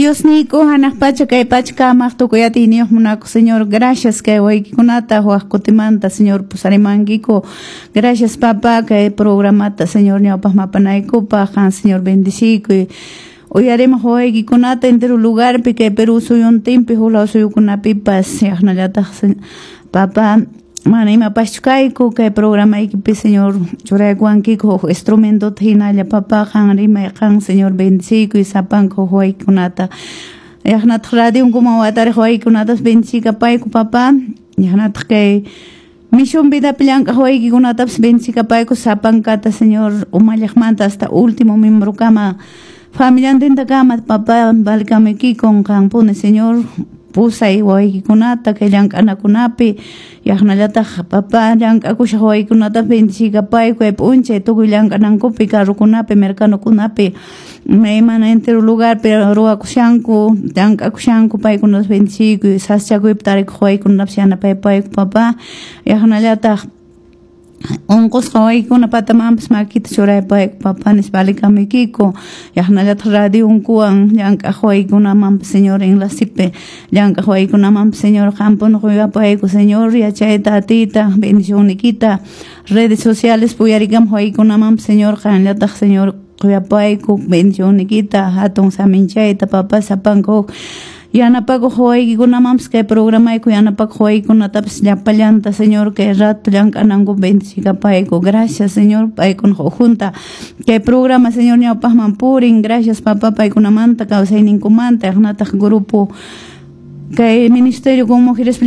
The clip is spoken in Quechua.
Diosniyku, hanaq pacha kay pacha kamaq tukuy atiyniyuq munakuq Señor, gracias kay waykikunata waq kutimanta, Señor, pusarimankiku. Gracias, papá, kay programata, Señor, ñawpaq mapanaykupaq, qan, Señor, bendiciykuy. Uyarimaq waykikunata entero lugarpi, kay Perú suyuntinpi, huk suyukunapipas, yaqnallataq, papá, mana imapaschu kayku kay programaykipi, Señor, churaykuwankiku huk instrumentota hinalla, papá, qan rimay, qan, Señor, bendiciykuy sapanka huk waykikunata. Yaqnataq radionkuman watariq waykikunatapas bendicikapayku, papá. Yaqnataq kay Misión Vidapi llank'aq waykikunatapas bendicikapayku sapankata, Señor, umalliqmanta hasta último miembrokama, familiantintakama, papá, valkamikikun qanpuni, Señor, pusay waykikunata kay llank'anakunapi. Yaqnallataq, papá, llank'akushaq waykikunata bendicikapayku kay p'unchay tukuy llank'anankupi, carrokunapi, mercadokunapi, maymana entero lugarpi ruwakushanku, llank'akushanku, paykunatas bendiciykuy. Sasachakuypi tarikuq waykikunatapas yanapaypayku, papá. Yaqnallataq unqusqa waykuna patamanpas makita churaypayku, papá, nispa valikamuykiko. Yaqnallataq radionkuwan llank'aq waykunamanpas, Señor, enlacepi llank'aq waykunamanpas, Señor, qampuni quyapayku, Señor, yachayta, atiyta, bendicionnikita. Redes sociales uyarikamuq waykunamanpas, Señor, qanllataq, Señor, quyapayku bendicionnikita, hatun saminchayta, papá. Sapanka huk yanapakuq waykikunamanpas, kay programayku yanapakuq waykikunatapas llapallanta, Señor, kay rato llank'ananku bendicikapayku. Gracias, Señor, paykunaq ukhunta kay programa, Señor, ñawpaqman purin. Gracias, papá, paykunamanta, kawsayninkumanta. Yaqnataq grupo kay ministerio con mujeres.